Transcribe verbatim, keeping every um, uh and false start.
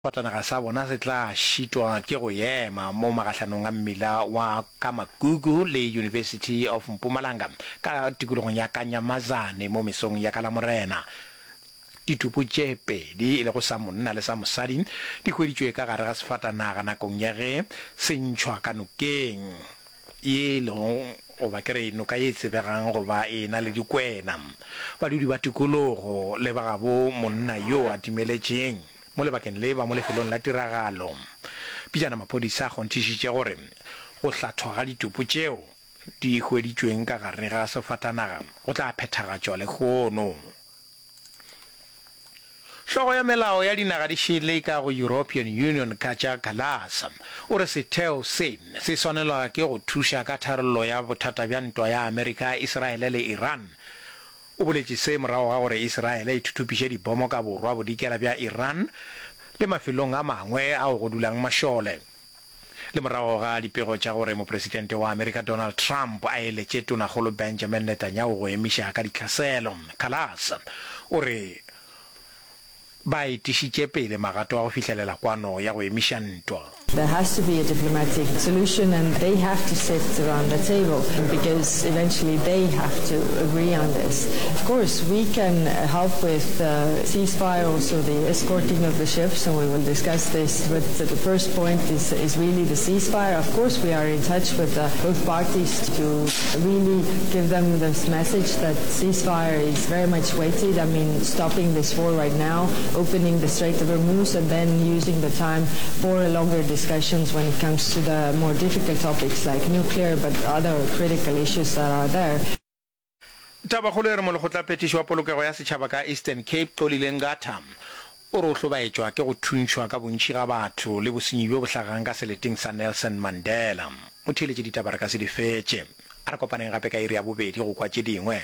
Sefatanaga sa bona se tla šitwa ke go ema mo magahlanong a mmila wa Kamagugu le University of Mpumalanga ka tikologong ya Kanyamazane mo mesong ya ka Lamorena. Ditopo tše pedi, e lego sa monna le sa mosadi, di hweditšwe ka gare ga sefatanaga nakong ya ge se ntšhwa ka nokeng ye e lego goba ke re noka ye e tsebegang go ba e na le dikwena. Badudi ba tikologo le ba gabo monna yo a timeletšeng mo lebakeng le ba mo lefelong la tiragalo. Pejana maphodisa a kgonthišitše gore go hlathwa ga ditopo tšeo di hweditšweng ka gare ga sefatanaga go tla phethagatšwa lehono. Hlogo ya melao ya dinaga di šele ka go European Union Kaja Kallas o re setheo se se swanelwa ke go thuša ka tharollo ya bothata bja ntwa ya Amerika, Israele le Iran. O boletše se morago ga gore Israele e thuthupiše dibomo ka borwa bodikela bja Iran le mafelong a mangwe ao go dulang mašole. Le morago ga dipego tša gore Mopresidente wa Amerika Donald Trump a eletše Tonakgolo Benjamin Netanyahu go emiša ka ditlhaselo, Kallas o re ba etišitše pele magato a go fihlelela kwano ya go emiša ntwa. There has to be a diplomatic solution and they have to sit around the table because eventually they have to agree on this. Of course, we can help with the ceasefire, also the escorting of the ships, and we will discuss this. But the first point is, is really the ceasefire. Of course, we are in touch with uh, both parties to really give them this message that ceasefire is very much weighted. I mean, stopping this war right now, opening the Strait of Hormuz, and then using the time for a longer discussions when it comes to the more difficult topics like nuclear, but other critical issues that are there. Tabakgolo e re Molekgotlaphethiši wa Polokego ya Setšhaba ka Eastern Cape, Xolile Nqatha, o re o hlobaetšwa ke go thuntšhwa ka bontši ga batho le bosenyi bjo bo hlagang ka seleteng sa Nelson Mandela. Motheeletši ditaba re ka se di fetše. A re kopaneng gape ka iri ya bobedi go kwa tše dingwe.